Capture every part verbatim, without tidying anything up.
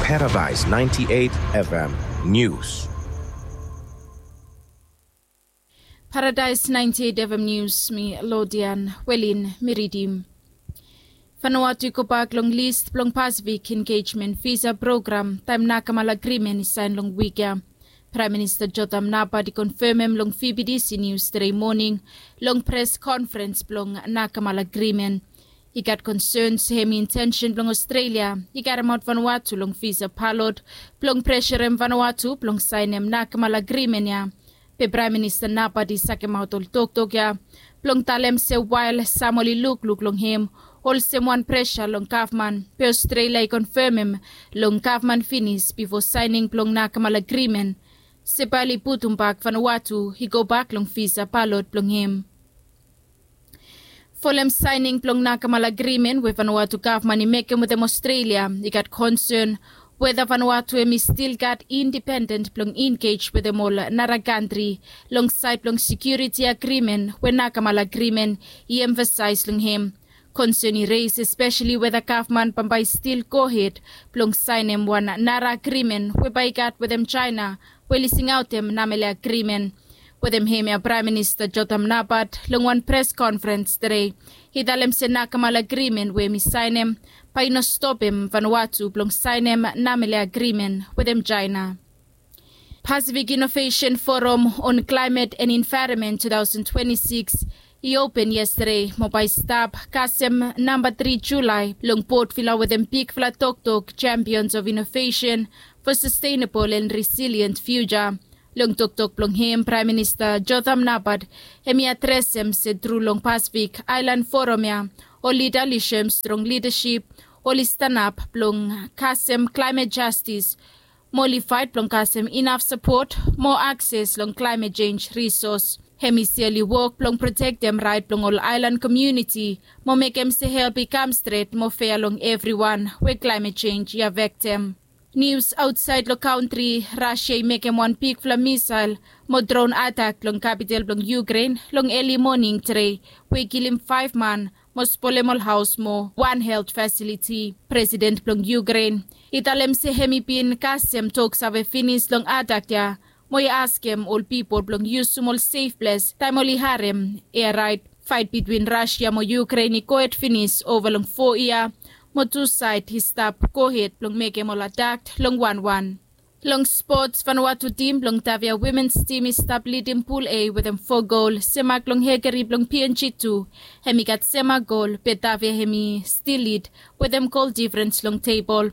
Paradise ninety-eight F M News. Paradise ninety-eight F M News, mi Lodian Welin mi ridim. Vanuatu i gobak long list blong Pacific Engagement Visa Program taem Nakamal Agreement i saen long wik ya. Praem Minista Jotham Napat i konfemem long V B D C News tede moning long pres konferens blong Nakamal Agreement. I gat konsen se hem intensen blong Australia i karemaot Vanuatu long visa balot blong preserem Vanuatu blong saenem Nakamal Agreement ya. Be Praem Minista Napat i sakemaot ol toktok ya blong talem se wael sam oli lukluk long hem olsem wan presa long gavman, be Australia i konfemem long gavman finis bifo saening blong Nakamal Agreement se bae oli putumbak Vanuatu i gobak long visa balot blong hem. Folem saening blong Nakamal Agreement we Vanuatu gavman i mekem wetem Australia, i gat konsen weda Vanuatu hem i stil gat independent blong engage wetem ol nara kantri long saed blong security agreement we Nakamal Agreement i emfasaes long hem. Konsen i reis espeseli weda gavman bambae i stil gohed blong saenem wan nara agreement we bae i gat wetem China we oli singaotem Namele Agreement. Wetem hemia Praem Minista Jotham Napat long wan pres konferens tede i talem se Nakamal Agreement we hem i saenem bae i no stopem Vanuatu blong saenem Namele Agreement wetem China. Pacific Innovation Forum on Climate and Environment two thousand twenty-six i open yestede mo bae i stap kasem namba tri Julae long Port Vila wetem bigfala toktok Champions of Innovation for Sustainable and Resilient Future. Long toktok blong hem Praem Minista Jotham Napat hem i adresem se tru long Pacific Aelan Forum ya ol lida oli soem strong lidasip, oli stanap blong kasem klaemet jastis mo oli faet blong kasem inaf sapot mo akses long klaemet jenj risos. Hem i se oli wok blong protektem raet blong ol aelan komuniti mo mekem se help i kam stret mo fea long evriwan we klaemet jenj i afektem. Nius aotsaed long kantri, Rasia i mekem wan bigfala misael mo dron atak long kapital blong Ukraine long eli moning tede we i kilim faef man mo spolem ol haos mo wan helt fasiliti. Presiden blong Ukraine i talem se hem i bin kasem toksave finis long atak ya mo i askem ol pipol blong yusum ol sef ples taem oli harem ea raet. Faet bitwin Rasia mo Ukraine i gohed finis ova long fo yia mo tu saed i stap gohed blong mekem ol atak long wanwan. Long spots, Vanuatu tim blong Tavia Womens tim i stap lidim Pul A wetem fo gol, semak long hegeri blong P N G tu. Hem i gat semak gol, be Tavia hem i stil lid wetem gol difrens long tebol.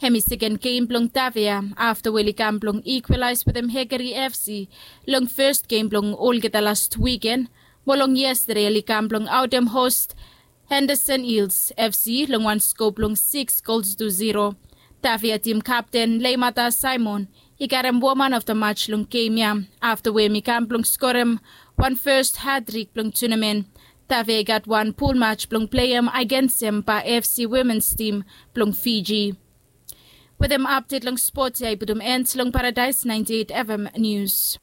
Hem i seken gem blong Tavia afta we oli kam blong ikwalaes wetem Hegeri F C long fes gem blong olgeta las wiken. Mo long yestede oli kam blong aotem hos Henderson Hills F C long wan sko blong siks gols tu ziro. Tavia tim kapten Leimata Simon i karem woman of the match long gem ya afta we hem i kam blong skorem wan fes hatrik blong tunamen. Tavia i gat wan pul match blong pleim agensem Ba F C womens tim blong Fiji. Wetem apdet long spot ya i putum en long Paradise ninety-eight F M News.